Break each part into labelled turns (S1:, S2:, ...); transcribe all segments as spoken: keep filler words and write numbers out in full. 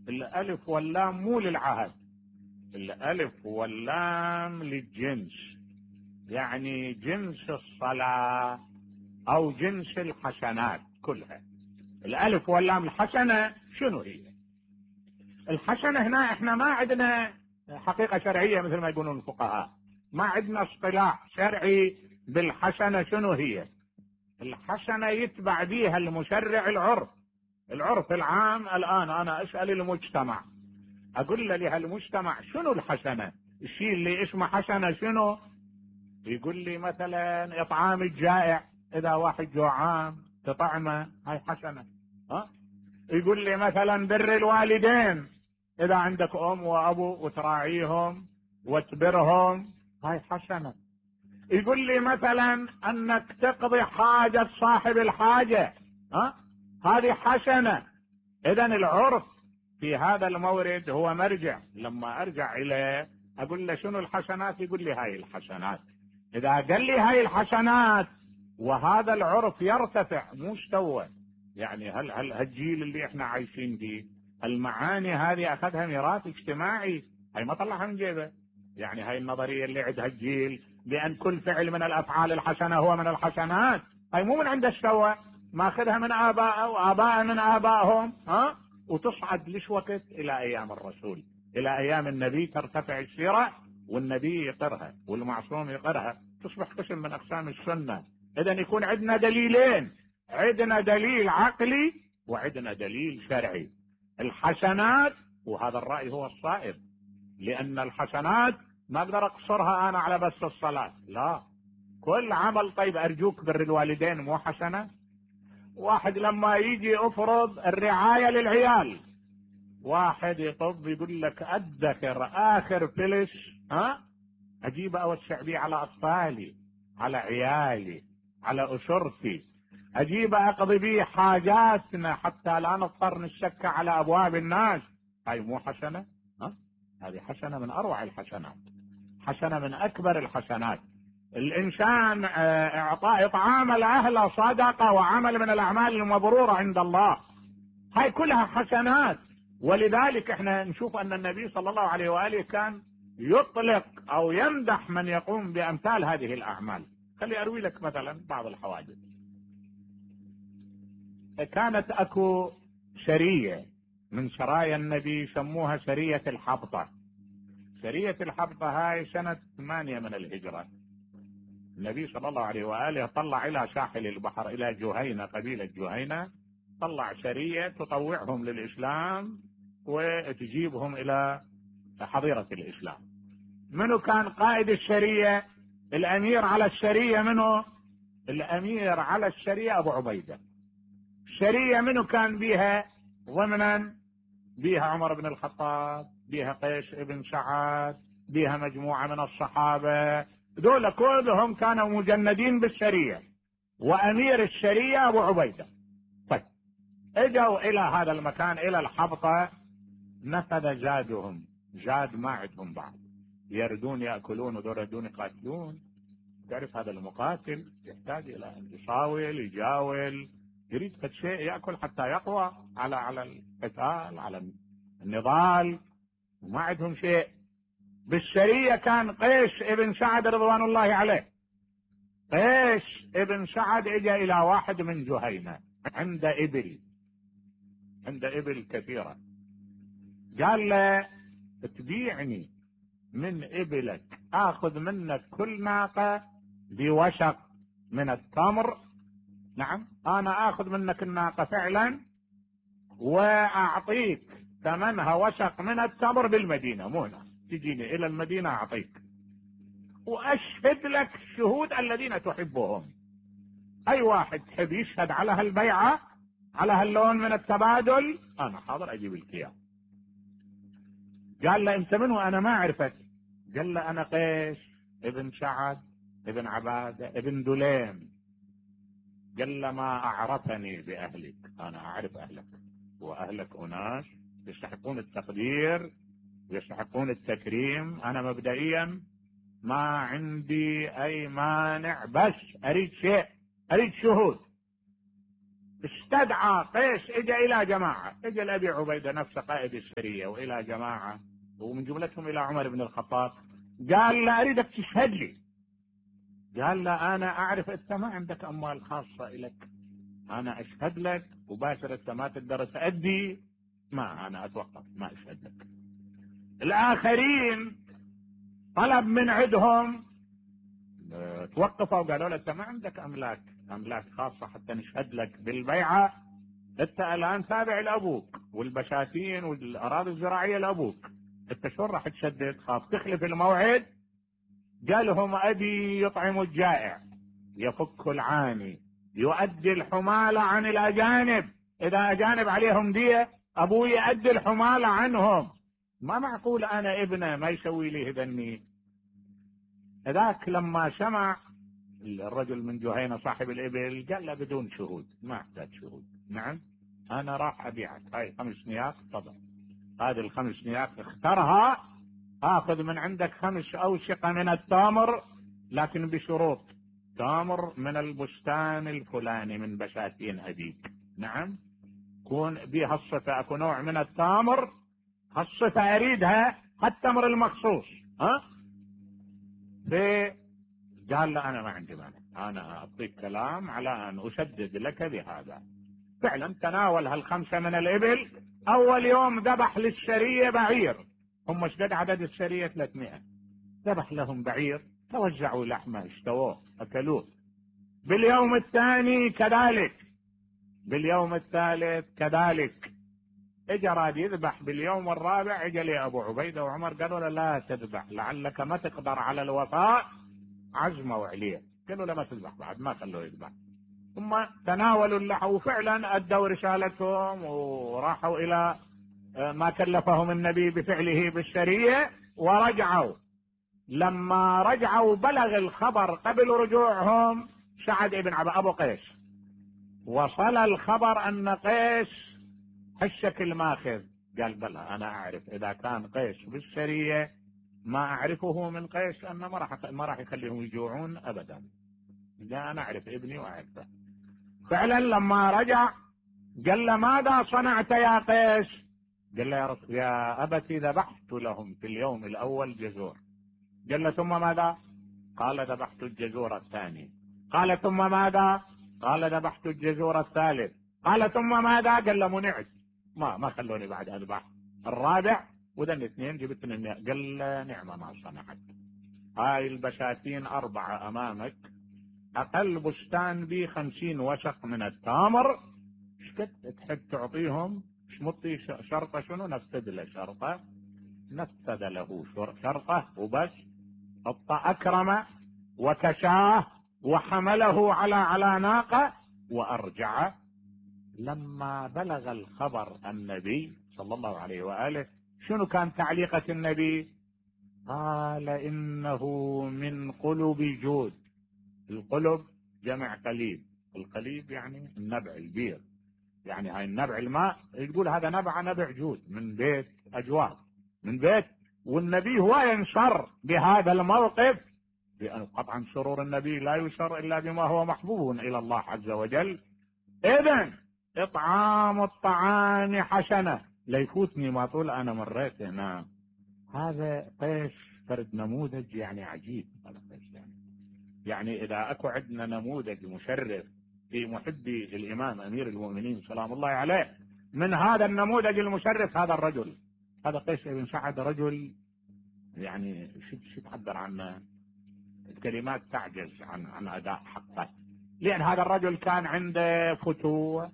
S1: الألف واللام مو للعهد، الألف واللام للجنس، يعني جنس الصلاة أو جنس الحسنات كلها. الألف واللام الحسنة شنو هي؟ الحسنة هنا احنا ما عندنا حقيقة شرعية مثل ما يقولون الفقهاء، ما عندنا اصطلاح شرعي بالحسنة. شنو هي الحسنة؟ يتبع بيها المشرع العرف، العرف العام. الآن أنا أسأل المجتمع، أقول له لهالمجتمع شنو الحسنة؟ الشيء اللي اسمه حسنة شنو؟ يقول لي مثلا إطعام الجائع، إذا واحد جوعان تطعمه، هاي حسنة. ها؟ يقول لي مثلا بر الوالدين، إذا عندك أم وأبو وتراعيهم وتبرهم، هاي حسنة. يقول لي مثلا أنك تقضي حاجة صاحب الحاجة، ها؟ هذه حسنة. إذن العرف في هذا المورد هو مرجع. لما أرجع إليه أقول له شنو الحسنات؟ يقول لي هاي الحسنات. إذا قال لي هاي الحسنات وهذا العرف يرتفع مو استوى، يعني هل هل هالجيل اللي احنا عايشين فيه المعاني هذه أخذها ميراث اجتماعي، هاي ما طلعها من جيبه. يعني هاي النظرية اللي عندها الجيل بأن كل فعل من الأفعال الحسنة هو من الحسنات، هاي مو من عنده استوى، ماخذها من آبائه وآبائه من آبائهم، ها؟ وتصعد ليش وقت؟ إلى أيام الرسول، إلى أيام النبي ترتفع السيرة والنبي يقرها والمعصوم يقرها، تصبح قسم من أقسام السنة. إذن يكون عندنا دليلين، عندنا دليل عقلي وعندنا دليل شرعي. الحسنات، وهذا الرأي هو الصائب، لأن الحسنات ما أقدر أقصرها أنا على بس الصلاة، لا، كل عمل. طيب أرجوك بر الوالدين مو حسنة؟ واحد لما يجي أفرض الرعاية للعيال، واحد يطب يقول لك أدخر آخر فلس، ها، أجيب أوسع بيه على أطفالي، على عيالي، على أسرتي، أجيب أقضي بيه حاجاتنا حتى لا نضطر نشك على أبواب الناس. هاي مو حسنة؟ ها؟ هذه حسنة من أروع الحسنات، حسنة من أكبر الحسنات. الإنسان إعطاء إطعام الأهل صدقة وعمل من الأعمال المبرورة عند الله، هاي كلها حسنات. ولذلك احنا نشوف أن النبي صلى الله عليه وآله كان يطلق أو يمدح من يقوم بأمثال هذه الأعمال. خلي أروي لك مثلا بعض الحوادث. كانت أكو سرية من سرايا النبي يسموها سرية الحبطة. سرية الحبطة هاي سنة ثمانية من الهجرة. النبي صلى الله عليه وآله طلع إلى ساحل البحر، إلى جهينة، قبيلة جهينة، طلع سرية تطوعهم للإسلام وتجيبهم إلى حظيرة الإسلام. منو كان قائد السرية؟ الأمير على السرية منو؟ الأمير على السرية أبو عبيدة. السرية منو كان بيها ضمنا؟ بيها عمر بن الخطاب، بيها قيس ابن سعد، بيها مجموعة من الصحابة، دول كلهم كانوا مجندين بالسرية، وأمير السرية أبو عبيدة. طيب اجوا إلى هذا المكان، إلى الحبطة، نفذ زادهم، زاد ما عندهم بعض، يردون يأكلون ودول يردون يقاتلون. تعرف هذا المقاتل يحتاج إلى أن يصاول، يجاول، يريد قد شيء يأكل حتى يقوى على على القتال، على النضال، وما عندهم شيء. بالسرية كان قيس ابن سعد رضوان الله عليه. قيس ابن سعد اجى الى واحد من جهينة عند ابل، عند ابل كثيرة، قال له تبيعني من ابلك، اخذ منك كل ناقة بوشق من التمر. نعم، انا اخذ منك الناقة فعلا واعطيك ثمنها وشق من التمر بالمدينة، مو هنا، تجيني الى المدينة اعطيك، واشهد لك الشهود الذين تحبهم. اي واحد تحب يشهد على هالبيعة، على هاللون من التبادل، انا حاضر اجيب لك اياه. قال له انت من وانا ما اعرفك؟ قال له انا قيس ابن سعد ابن عبادة ابن دليم. قال له ما اعرفني باهلك، انا اعرف اهلك، واهلك اناس يستحقون التقدير ويستحقون التكريم. انا مبدئيا ما عندي اي مانع، بس اريد شيء، اريد شهود. استدعى قيس، اجى الى جماعة، اجى لأبي عبيدة نفسه قائد السرية والى جماعة ومن جملتهم الى عمر بن الخطاب، قال لا اريدك تشهد لي. قال لا انا اعرف انت ما عندك اموال خاصة لك، انا اشهد لك مباشرة، انت ما تقدر تأدي، ما انا اتوقف ما اشهد لك. الاخرين طلب من عندهم توقفوا وقالوا له انت ما عندك املاك املاك خاصة حتى نشهد لك بالبيعة، انت الان تابع لابوك والبشاتين والاراضي الزراعية لابوك، انت شو راح تشدد؟ خاف تخلف الموعد. قالهم ابي يطعم الجائع، يفك العاني، يؤدي الحمالة عن الاجانب، اذا اجانب عليهم دية ابوي يؤدي الحمالة عنهم، ما معقول انا ابنه ما يسوي لي هذني. ذاك لما سمع الرجل من جهينة صاحب الابل قال له بدون شهود، ما احتاج شهود، نعم انا راح ابيعك، هاي خمس نياق، تفضل هذه الخمس نياق اخترها، اخذ من عندك خمس اوشقة من التمر لكن بشروط، تمر من البستان الفلاني من بساتين ابيك، نعم كون بها الصفة، اكو نوع من التمر الصفة اريدها، التمر المخصوص، ها في قال لا انا ما عندي مانع، انا اعطيك كلام على ان اسدد لك بهذا. فعلا تناول هالخمسة من الابل، اول يوم ذبح للسرية بعير، هم اشتد عدد السرية ثلاثمائة، ذبح لهم بعير، توزعوا لحمه اشتووه اكلوه. باليوم الثاني كذلك، باليوم الثالث كذلك، اجى راد يذبح باليوم الرابع، اجى لي ابو عبيدة وعمر قالوا له لا تذبح لعلك ما تقدر على الوفاء، عزموا عليه، قالوا له ما تذبح بعد، ما خلوه يذبح. ثم تناولوا اللحم وفعلا ادوا رسالتهم وراحوا الى ما كلفهم النبي بفعله بالسرية ورجعوا. لما رجعوا بلغ الخبر قبل رجوعهم سعد بن عبا ابو قيس، وصل الخبر ان قيس حشك الماخذ، قال بلى انا اعرف اذا كان قيس بالسرية ما اعرفه من قيس ان ما راح ما راح يخليهم يجوعون ابدا، لا انا اعرف ابني واعرفه. فعلا لما رجع قال له ماذا صنعت يا قيس؟ قال له يا, رس... يا ابتي ذبحت لهم في اليوم الاول جزور. قال له ثم ماذا؟ قال ذبحت الجزور الثاني. قال ثم ماذا؟ قال ذبحت الجزور الثالث. قال ثم ماذا؟ قال له منعت، ما ما خلوني بعد اذبح الرابع، وذن الاثنين جبت من النية. قال له نعم ما صنعت، هاي البساتين اربعة امامك، اقل بستان بي خمسين وشق من التمر، شكت تحب تعطيهم؟ شمطي شرطة شنو؟ نفذ له شرطة، نفذ له شرطة وبس، حط اكرمه وكشاه وحمله على على ناقة وارجعه. لما بلغ الخبر النبي صلى الله عليه وآله شنو كان تعليقة النبي؟ قال انه من قلب جود. القلب جمع قليب، القليب يعني النبع البير، يعني هاي النبع الماء، يقول هذا نبع نبع جود من بيت اجواد، من بيت. والنبي هو ينشر بهذا الموقف، لأن قطعا سرور النبي لا يشر الا بما هو محبوب الى الله عز وجل. اذن اطعام الطعام حسنة، ليفوتني ما طول انا مريت هنا. هذا قيس فرد نموذج يعني عجيب، هذا قيس يعني يعني اذا اكو عندنا نموذج مشرف في محبي الامام امير المؤمنين سلام الله عليه، من هذا النموذج المشرف هذا الرجل، هذا قيس بن سعد، رجل يعني شو تعبر عنه، الكلمات تعجز عن عن اداء حقه، لان هذا الرجل كان عنده فتوة،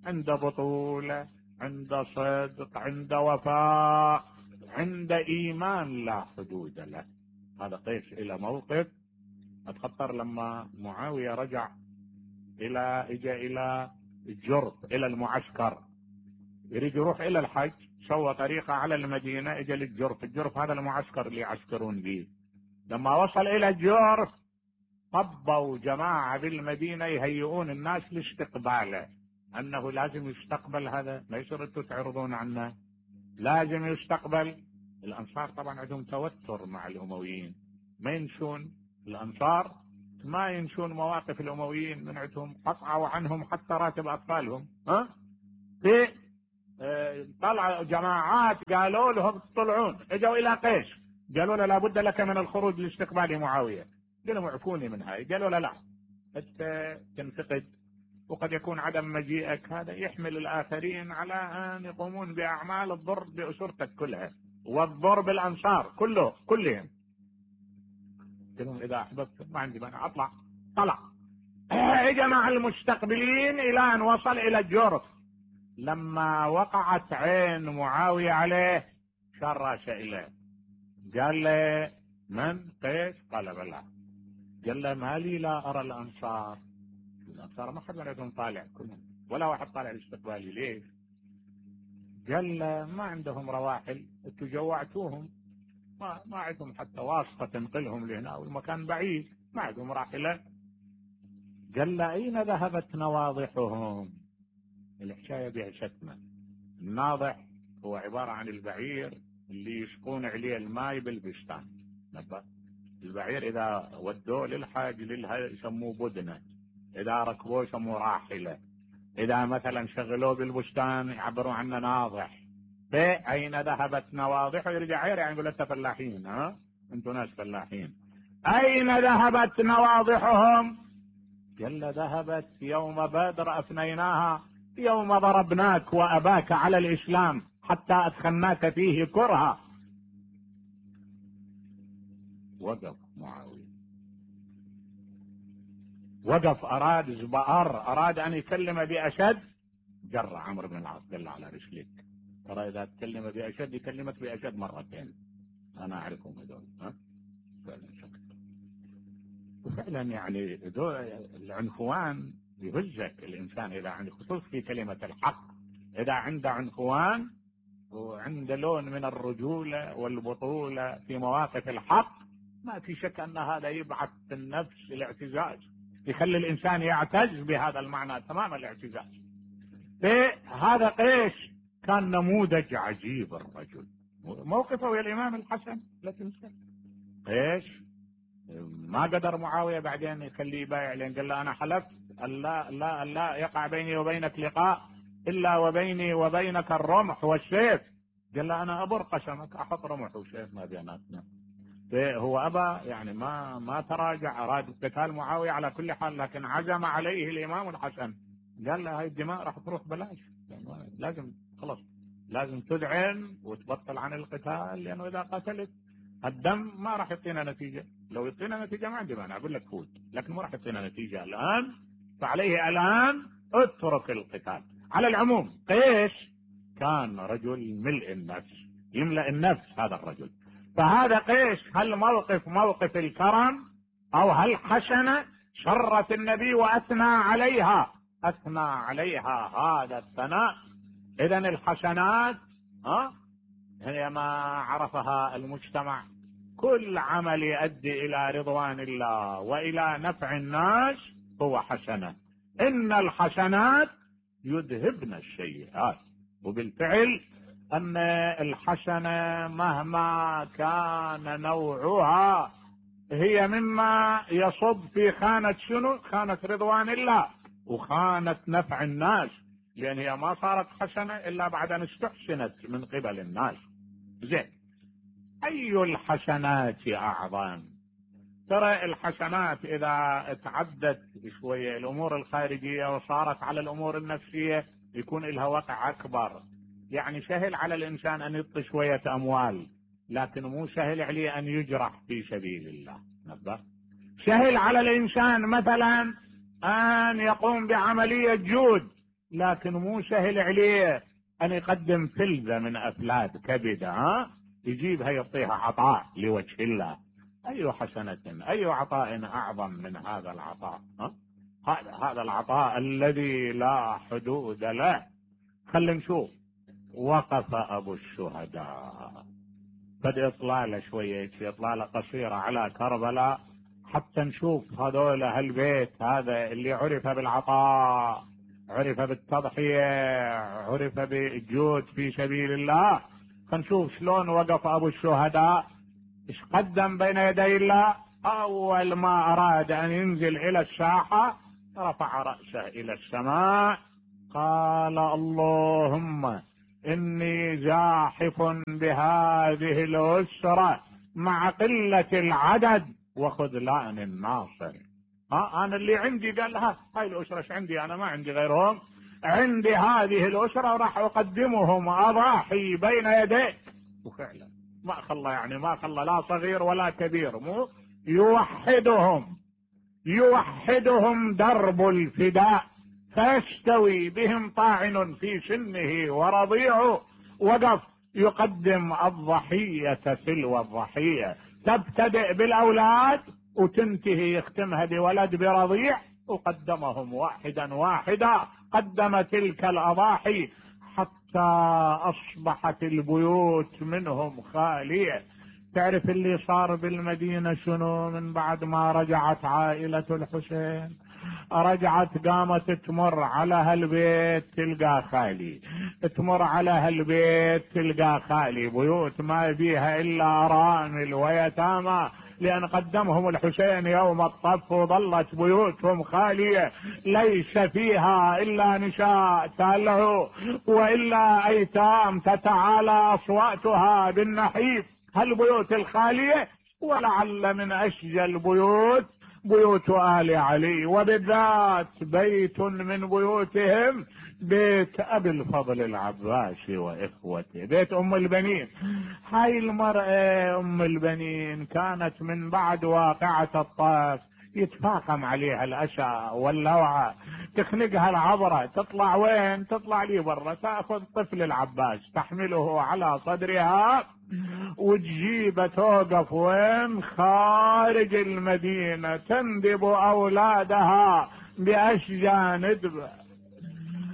S1: عنده بطولة، عنده صدق، عنده وفاء، عنده ايمان لا حدود له. هذا قيس الى موقف اتخطر لما معاوية رجع الى اجى الى الجرف الى المعسكر، يريد يروح الى الحج، سوى طريقة على المدينة، اجى للجرف، الجرف هذا المعسكر اللي يعسكرون به. لما وصل الى الجرف طبوا جماعة بالمدينة يهيئون الناس لاستقباله، انه لازم يستقبل، هذا ما يصير انتم تعرضون عنه، لازم يستقبل. الانصار طبعا عندهم توتر مع الامويين، ما ينسون الانصار ما ينشون مواقف الامويين من عندهم، قطعوا عنهم حتى راتب اطفالهم. ها في اه طلع جماعات قالوا لهم تطلعون، اجوا الى قيش قالوا له لابد لك من الخروج لاستقبال معاويه. قالوا اعفوني من هاي. قالوا له لا، انت تنفقد وقد يكون عدم مجيئك هذا يحمل الاخرين على ان يقومون باعمال الضر باسرتك كلها والضر بالانصار كله كلهم. قالوا اذا احببت ما عندي مانع اطلع. طلع اجى مع المستقبلين الى ان وصل الى الجرف. لما وقعت عين معاويه عليه شرش اليه قال له من قيس؟ قال بلى. قال له ما لي لا ارى الانصار؟ الانصار ما حد منهم طالع كلهم ولا واحد طالع لاستقبالي، ليش؟ قال له ما عندهم رواحل، انتوا جوعتوهم، ما ما عندهم حتى واسطه تنقلهم لهنا والمكان بعيد، ما عندهم راحله. قال له اين ذهبت نواضحهم؟ الحكايه بها شتمه. الناضح هو عباره عن البعير اللي يسقون عليه الماء بالبستان. البعير اذا ودوه للحاج للها يسموه بدنه، اذا ركبوه يسموه راحله، اذا مثلا شغلوه بالبستان يعبروا عنه ناضح. فاين ذهبت نواضح؟ يرجع عير يعني يقول انت فلاحين، ها انتم ناس فلاحين. اين ذهبت نواضحهم؟ قال ذهبت يوم بدر افنيناها، يوم ضربناك واباك على الاسلام حتى ادخلناك فيه كرها. وقف معاويه، وقف، اراد زبائر، اراد ان يكلم باشد، جر عمرو بن العاص قال على رجليك، ترى اذا تكلم باشد يكلمك باشد مرتين، انا اعرفهم هذول. ها فعلا شكل وفعلا يعني العنفوان يهزك الانسان اذا عنده، خصوص في كلمه الحق، اذا عنده عنفوان وعنده لون من الرجوله والبطوله في مواقف الحق، ما في شك ان هذا يبعث في النفس الاعتزاز، يخلي الانسان يعتز بهذا المعنى تمام الاعتزاز. هذا قيش كان نموذج عجيب الرجل. موقفه يا الامام الحسن لا تنسى. قيش ما قدر معاويه بعدين يخليه يبايع، لان قال له انا حلفت لا لا لا يقع بيني وبينك لقاء الا وبيني وبينك الرمح والسيف. قال له انا ابر قسمك، احط رمح وسيف ما بيناتنا. هو ابى يعني ما ما تراجع، اراد قتال معاويه على كل حال، لكن عزم عليه الامام الحسن، قال له هاي الدماء راح تروح بلاش، لازم خلص لازم تذعن وتبطل عن القتال، لانه اذا قتلت الدم ما راح يعطينا نتيجه، لو يعطينا نتيجه ما عندي مانع اقول لك فوت، لكن ما راح يعطينا نتيجه الان، فعليه الان اترك القتال. على العموم قيش كان رجل ملء النفس، يملأ النفس هذا الرجل. فهذا قيش هل موقف موقف الكرم او هل حسنه شرف النبي واثنى عليها، اثنى عليها هذا الثناء. اذا الحسنات ها هي ما عرفها المجتمع، كل عمل يؤدي الى رضوان الله والى نفع الناس هو حسنه. ان الحسنات يذهبن السيئات، وبالفعل ان الحسنه مهما كان نوعها هي مما يصب في خانه شنو؟ خانه رضوان الله وخانه نفع الناس، لان هي ما صارت حسنه الا بعد ان استحسنت من قبل الناس. زين، اي الحسنات اعظم؟ ترى الحسنات اذا تعدت شويه الامور الخارجيه وصارت على الامور النفسيه يكون لها وقع اكبر. يعني سهل على الانسان ان يعطي شويه اموال، لكن مو سهل عليه ان يجرح في سبيل الله. نبه سهل على الانسان مثلا ان يقوم بعمليه جود، لكن مو سهل عليه ان يقدم فلذه من افلاد كبده، ها يجيبها يعطيها عطاء لوجه الله. اي حسنه اي عطاء اعظم من هذا العطاء؟ ها هذا العطاء الذي لا حدود له. خلينا نشوف وقف ابو الشهداء، قد اطلاله شويه اطلاله قصيره على كربلاء حتى نشوف هذول هالبيت هذا اللي عرف بالعطاء، عرف بالتضحيه، عرف بالجود في سبيل الله. خلينا نشوف شلون وقف ابو الشهداء، ايش قدم بين يدي الله. اول ما اراد ان ينزل الى الساحة رفع رأسه الى السماء، قال اللهم اني زاحف بهذه الاسرة مع قلة العدد وخذلان الناصر. ها انا اللي عندي، قالها هاي الاسرة ايش عندي، انا ما عندي غيرهم، عندي هذه الاسرة وراح اقدمهم اضاحي بين يديك. وفعلا ما خلى، يعني ما خلى لا صغير ولا كبير، مو يوحدهم يوحدهم درب الفداء، فيستوي بهم طاعن في سنه ورضيعه. وقف يقدم الضحية تلو الضحية، تبتدئ بالاولاد وتنتهي يختمها بولد برضيع، وقدمهم واحدا واحدا، قدم تلك الاضاحي حتى اصبحت البيوت منهم خالية. تعرف اللي صار بالمدينة شنو؟ من بعد ما رجعت عائلة الحسين، رجعت قامت تمر على هالبيت تلقى خالي، تمر على هالبيت تلقى خالي، بيوت ما فيها الا ارامل ويتامى، لان قدمهم الحسين يوم الطف وظلت بيوتهم خالية، ليس فيها الا نساء تلهو والا ايتام تتعالى اصواتها بالنحيف. هالبيوت الخالية، ولعل من اشجى البيوت بيوت آل علي، وبالذات بيت من بيوتهم بيت ابي الفضل العباسي واخوته، بيت ام البنين. هاي المرأة ام البنين كانت من بعد واقعة الطائف يتفاقم عليها الاسى واللوعة، تخنقها العبرة، تطلع وين؟ تطلع لي برا، تاخذ طفل العباس تحمله على صدرها وتجيبه توقف وين؟ خارج المدينة، تندب اولادها باشجى ندبه.